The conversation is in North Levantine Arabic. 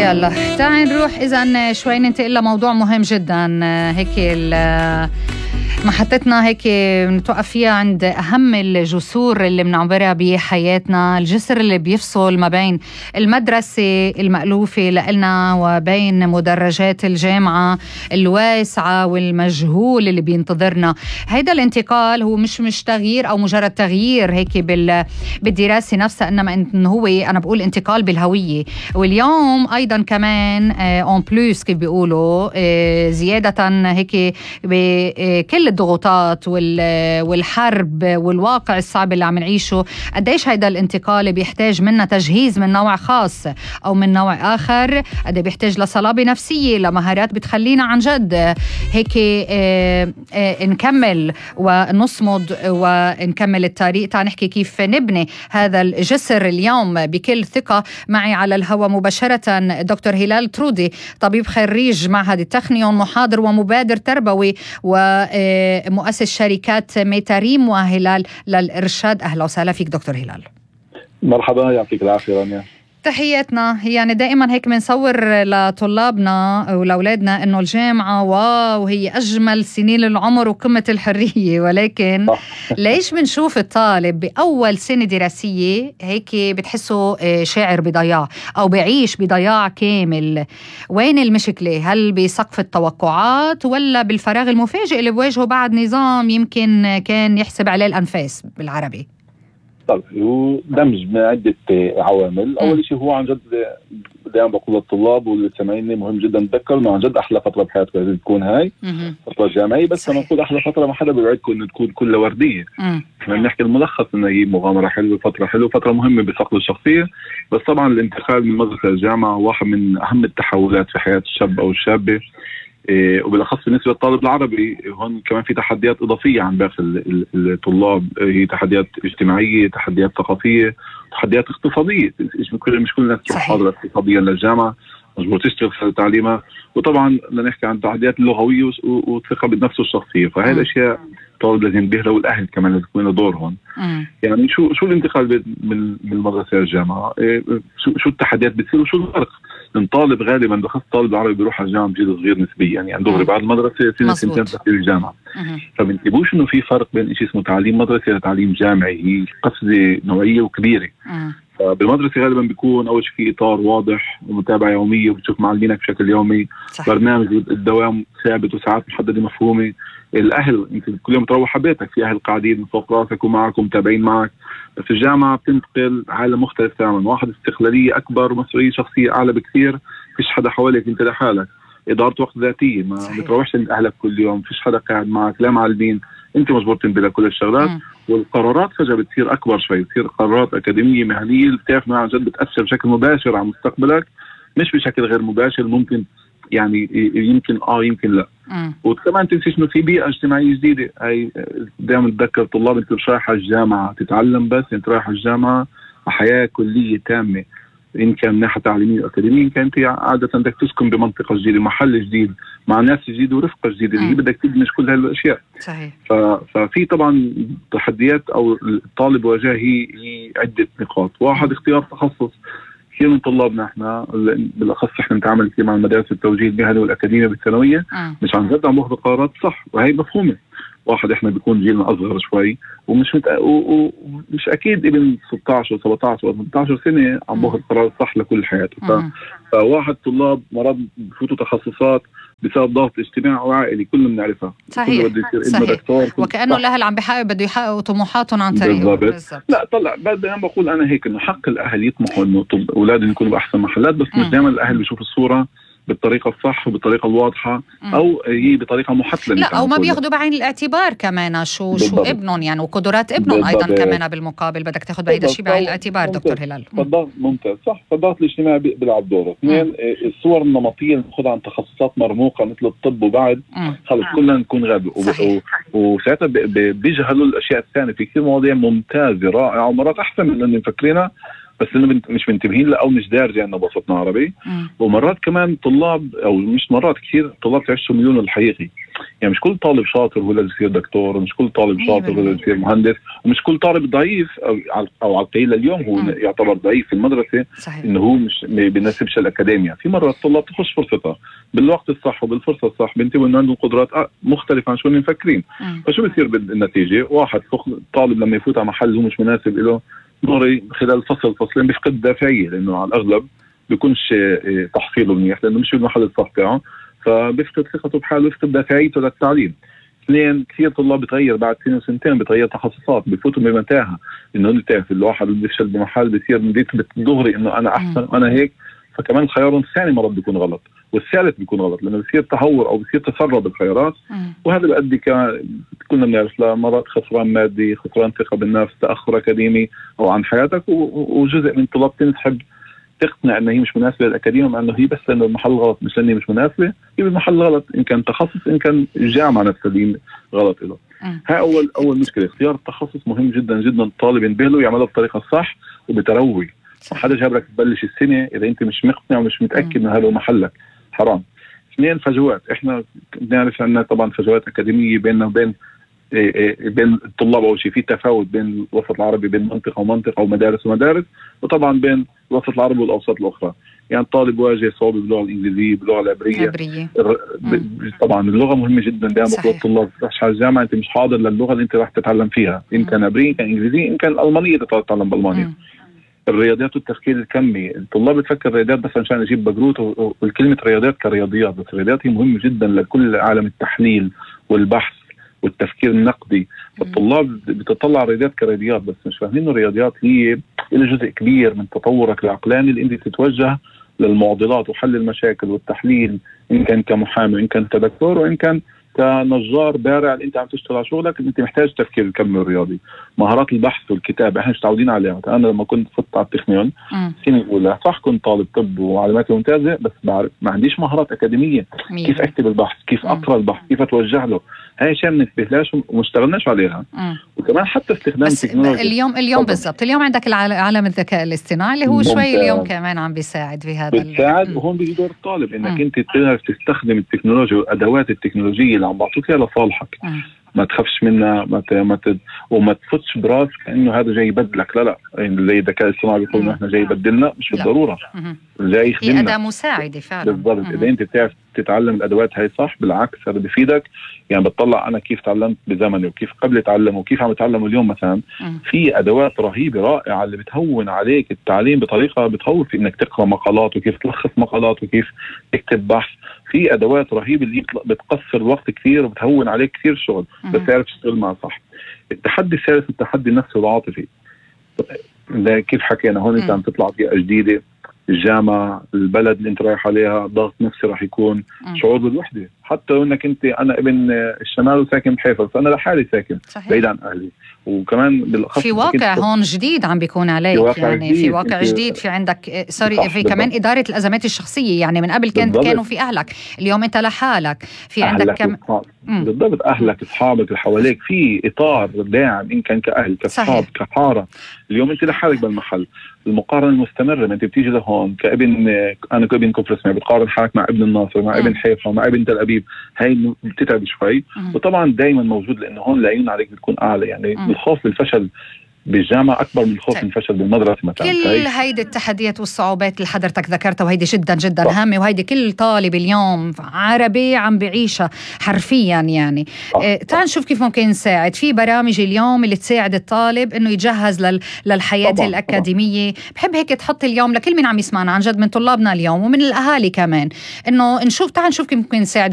يلا تعال نروح إذن شوي ننتقل لموضوع مهم جدا. هيك محطتنا هيك نتوقف فيها عند أهم الجسور اللي بنعبرها بحياتنا، الجسر اللي بيفصل ما بين المدرسة المألوفة لنا وبين مدرجات الجامعة الواسعة والمجهول اللي بينتظرنا. هيدا الانتقال هو مش تغيير أو مجرد تغيير هيك بالدراسة نفسها، إنما إنه هو أنا بقول انتقال بالهوية. واليوم أيضا كمان اون بلوس كيف بيقولوا زيادة هيك بكل الضغوطات والحرب والواقع الصعب اللي عم نعيشه، قديش هيدا الانتقال بيحتاج منا تجهيز من نوع خاص أو من نوع آخر، قد بيحتاج لصلابة نفسية، لمهارات بتخلينا عن جد هيك نكمل ونصمد ونكمل الطريق. تعال نحكي كيف نبني هذا الجسر اليوم بكل ثقة. معي على الهواء مباشرة دكتور هلال ترودي، طبيب خريج معهد التخنيون، محاضر ومبادر تربوي ومؤسس شركات ميتاريم وهلال للإرشاد. أهلا وسهلا فيك دكتور هلال. مرحبا، يعطيك العافية رانيا. تحياتنا. يعني دائما هيك بنصور لطلابنا ولأولادنا إنه الجامعة واو هي أجمل سنين العمر وقمة الحرية، ولكن ليش بنشوف الطالب بأول سنة دراسية هيك بتحسه شاعر بضياع أو بعيش بضياع كامل؟ وين المشكلة؟ هل بسقف التوقعات ولا بالفراغ المفاجئ اللي بواجهه بعد نظام يمكن كان يحسب عليه الأنفاس بالعربي؟ طيب، هو دمج من عدة عوامل. أول شيء هو عن جد دائما بقول للطلاب واللي سامعيني مهم جدا نتذكر إنه عن جد أحلى فترة بحياتكم لازم تكون هاي فترة جامعية. بس أنا بقول أحلى فترة ما حدا بيوعدكم إنه تكون كلها وردية. احنا بنحكي الملخص إنه هي مغامرة حلوة، فترة حلوة، فترة مهمة بصقل الشخصية. بس طبعا الانتقال من مدرسة للجامعة واحد من أهم التحولات في حياة الشاب أو الشابة، وبالأخص بالنسبة للطالب العربي. هون كمان في تحديات إضافية عن باقي الطلاب، هي تحديات اجتماعية، تحديات ثقافية، تحديات اقتصادية. مش كل الناس حاضرة اقتصاديا للجامعة، مجبور تشتغل خلال تعليمها. وطبعا نحكي عن التحديات اللغوية والثقة بالنفس الشخصية. فهذه الأشياء الطالب لازم ينتبه، والأهل كمان لازم يكون له دور هون. يعني شو الانتقال من المدرسة للجامعة؟ شو التحديات بتصير وشو الفرق؟ الطالب غالبا بخص الطالب العربي بيروح على الجامعة بجيل صغير نسبيا، يعني دغري بعد المدرسة سنتين في الجامعة. فبنتبهوش انه في فرق بين شيء اسمه تعليم مدرسي وتعليم جامعي. هي قفزة نوعية وكبيرة. فبالمدرسة غالبا بيكون أول شيء في إطار واضح ومتابعة يومية، وبتشوف معلمينك بشكل يومي. صحيح. برنامج الدوام ثابت وساعات محددة مفهومة. الأهل أنت كل يوم تروح بيتك في أهل قاعدين من فوق راسك ومعك ومتابعين معك. بس في الجامعة بتنتقل عالم مختلف تماما، واحد استقلالية أكبر ومسؤولية شخصية أعلى بكثير. فيش حدا حواليك، أنت لحالك. إدارة وقت ذاتية، ما بتروحش عند أهلك كل يوم، فيش حدا قاعد معك، لا معلمين، أنت مجبور تنتبه لكل الشغلات. والقرارات فجأة بتصير أكبر شوي، بتصير قرارات أكاديمية مهنية اللي بتعرف إنها عن جد بتأثر بشكل مباشر على مستقبلك، مش بشكل غير مباشر. ممكن يعني يمكن يمكن لا. وكمان تنسيش إنه في بيئة اجتماعية جديدة. هاي دائما بتذكر الطلاب، أنت مش رايح على الجامعة تتعلم بس، أنت رايح على الجامعة حياة كلية تامة، إن كان ناحية تعليمية وأكاديمية، إن كانت عادة بدك تسكن بمنطقة جديدة، محل جديد، مع ناس جديدة ورفقة جديدة اللي هي بدك تدمج كل هالأشياء. صحيح. ففي طبعا تحديات أو الطالب واجهها هي عدة نقاط. واحد، اختيار تخصص. كثير من طلابنا احنا بالاخص احنا نتعامل كثير مع المدارس التوجيه المهني والاكاديميه بالثانويه، مش عن جد عم باخذ قرارات صح، وهي مفهومه. واحد احنا بيكون جيلنا اصغر شوي ومش اكيد ابن 16 و17 و18 سنه عم باخذ قرار صح لكل حياته. فواحد طلاب مرات بفوتوا تخصصات بسبب ضغط اجتماعي وعائلي كلنا بنعرفها. صحيح. وكأنه الأهل عم بده يحققوا طموحاتهم عن طريقه. بالضبط. لا طلع انا بقول انا هيك انه حق الاهل يطمحوا انه اولادهم يكونوا باحسن محلات، بس مش دائما الاهل بيشوفوا الصوره بالطريقة الصح وبالطريقة الواضحة أو هي بطريقة محتلة. لا، أو ما بياخدوا بعين الاعتبار كمان شو ابنهم يعني وقدرات ابنهم أيضا كمان بالمقابل بدك تاخد بعيد شيء بعين الاعتبار. دكتور هلال، ممتاز صح. فالضغط الاجتماعي بيلعب دوره. اثنين، الصور النمطية اللي بناخدها عن تخصصات مرموقة مثل الطب وبعد خلص كلنا نكون غبي وساعتها بيجهلوا الأشياء الثانية. في كثير مواضيع ممتازة رائعة ومرات أحسن من اللي مفكرينها، بس إنه مش منتبهين له أو مش دارجة إنه بوسطنا عربي. ومرات كمان طلاب، أو مش مرات، كثير طلاب تعيشوا ميولهم الحقيقي. يعني مش كل طالب شاطر هو لازم يصير دكتور، ومش كل طالب شاطر هو لازم يصير مهندس، ومش كل طالب ضعيف أو على القليل اليوم هو يعتبر ضعيف في المدرسة. صحيح. إنه هو مش بيناسبش الأكاديمية. في مرات الطلاب تخش فرصتها بالوقت الصح وبالفرصة الصح، بينتبهوا إنه عندهم قدرات مختلفة عن شو اللي مفكرين. فشو بيصير بالنتيجة؟ واحد طالب لما يفوت على محل هو مش مناسب له، دوري خلال فصلين بيفقد دافعية، لأنه على الأغلب بيكونش تحصيله منيح لأنه مش في المحل الصح تاعه، فبيفقد ثقته بحاله ويفقد دافعيته للتعليم. اثنين، كثير طلاب بتغير بعد سنة وسنتين، بتغير تخصصات، بيفوتوا بمتاهة. إنه أنت تعرف الواحد اللي بيفشل بمحل بيصير بيثبت دغري إنه أنا أحسن وأنا هيك، فكمان خيارهم الثاني مرات بيكون غلط، والثالث بيكون غلط، لأنه بيصير تهور أو بيصير تسرب بالخيارات. وهذا بيؤدي كنا بنعرف مرات خسران مادي، خسران ثقة بالنفس، تأخر أكاديمي أو عن حياتك. وجزء من طلاب تنسحب تقنع انه هي مش مناسبه للاكاديميه، مع انه هي بس لانه المحل غلط، مش لانه مش مناسبه، هي المحل غلط، ان كان تخصص ان كان الجامعه نفسها دي غلط له. هاي اول مشكله. اختيار التخصص مهم جدا جدا، الطالب ينبهله يعمله بطريقه صح وبتروي. حدا جابلك تبلش السنه اذا انت مش مقتنع ومش متاكد انه هذا محلك، حرام. اثنين، فجوات. احنا بنعرف عندنا طبعا فجوات اكاديميه بيننا وبين الطلاب. أول شيء في تفاوت بين الوسط العربي، بين منطقة ومنطقة ومدارس ومدارس، وطبعا بين الوسط العربي والأوساط الأخرى. يعني الطالب واجه صعوبة باللغة الإنجليزية، باللغة العبرية. طبعا اللغة مهمة جدا. دائما بقول الطلاب تروحش على الجامعة أنت مش حاضر للغة اللي أنت راح تتعلم فيها، إن كان عبرية، إن كان إنجليزية، إن كان الألمانية تتعلم بالألمانيا. الرياضيات والتفكير الكمي، الطلاب بتفكر الرياضيات بس عشان يجيب بجروت، والكلمة رياضيات كرياضيات، بس الرياضيات هي مهمة جدا لكل عالم التحليل والبحث والتفكير النقدي. الطلاب بتطلع الرياضيات كرياضيات بس مش فاهمين انه الرياضيات هي جزء كبير من تطورك العقلاني، اللي انت تتوجه للمعضلات وحل المشاكل والتحليل، ان كان كمحامي، ان كان كدكتور، وان كان كنجار بارع اللي انت عم تشتغل على شغلك. انت محتاج تفكير الكمي الرياضي، مهارات البحث والكتابه احنا مش متعودين عليها. انا لما كنت فت على التكنيون السنه الاولى، صح كنت طالب طب وعلاماتي ممتازه، بس بعرف ما عنديش مهارات اكاديميه. كيف اكتب البحث، كيف اقرا البحث، كيف اتوجه له، هاي اشياء ما ننتبهلهاش ومشتغلناش عليها. وكمان حتى استخدام التكنولوجيا. اليوم بالضبط، اليوم عندك عالم الذكاء الاصطناعي اللي هو شوي اليوم كمان عم بيساعد في هذا. بتساعد، وهون بيجي دور الطالب انك انت تعرف تستخدم التكنولوجيا والادوات التكنولوجيه اللي عم بعطوك اياها لصالحك. ما تخافش منها، وما تفتش براس كأنه هذا جاي يبدلك. لا يعني زي الذكاء الاصطناعي بيقولوا احنا جاي يبدلنا، مش بالضروره، جاي يخدمنا. هي أداة مساعدة فعلا. بالضبط. إذا أنت بتعرف تتعلم الأدوات هاي صح، بالعكس هذا بيفيدك. يعني بتطلع أنا كيف تعلمت بزمني وكيف قبل أتعلم وكيف عم أتعلم اليوم مثلا. في أدوات رهيبة رائعة اللي بتهون عليك التعليم بطريقة بتهون في إنك تقرأ مقالات وكيف تلخص مقالات وكيف تكتب بحث. في أدوات رهيبة اللي بتقصر الوقت كثير وبتهون عليك كثير شغل، بس تعرف تشتغل معها صح. التحدي الثالث التحدي النفسي والعاطفي. كيف حكينا هون أنت عم تطلع بيئة جديدة، الجامعة، البلد اللي انت رايح عليها، ضغط نفسي راح يكون، شعور بالوحدة. حتى لو انك انت، انا ابن الشمال وساكن بحيفا، فانا لحالي ساكن بعيد عن اهلي. وكمان بالاخص في واقع هون جديد عم بيكون عليك، يعني في واقع جديد، في عندك في كمان إدارة الأزمات الشخصية. يعني من قبل كانوا في أهلك، اليوم انت لحالك، في عندك بالضبط أهلك، أصحابك اللي حواليك، في إطار داعم، إن كان كأهل، كأصحاب، كحارة. اليوم أنت لحالك بالمحل. المقارنة المستمرة، ما أنت بتيجي لهون كابن، أنا كابن كفر اسماعيل، بتقارن حالك مع ابن الناصر، مع ابن حيفا، مع ابن تل أبيب، هاي بتتعب شوي. وطبعا دايما موجود، لأنه هون العيون عليك بتكون أعلى. يعني الخوف بالفشل بالجامعة أكبر من الخوف من الفشل بالمدرسة مثلا. كل هيدي التحديات والصعوبات اللي حضرتك ذكرتها، وهيدي جدا جدا هامة، وهيدي كل طالب اليوم عربي عم بعيشها حرفيا. يعني تعال نشوف كيف ممكن نساعد. في برامج اليوم اللي تساعد الطالب إنه يتجهز للحياة الأكاديمية. بحب هيك تحط اليوم لكل من عم يسمعنا عن جد، من طلابنا اليوم ومن الأهالي كمان، إنه تعال نشوف كيف ممكن نساعد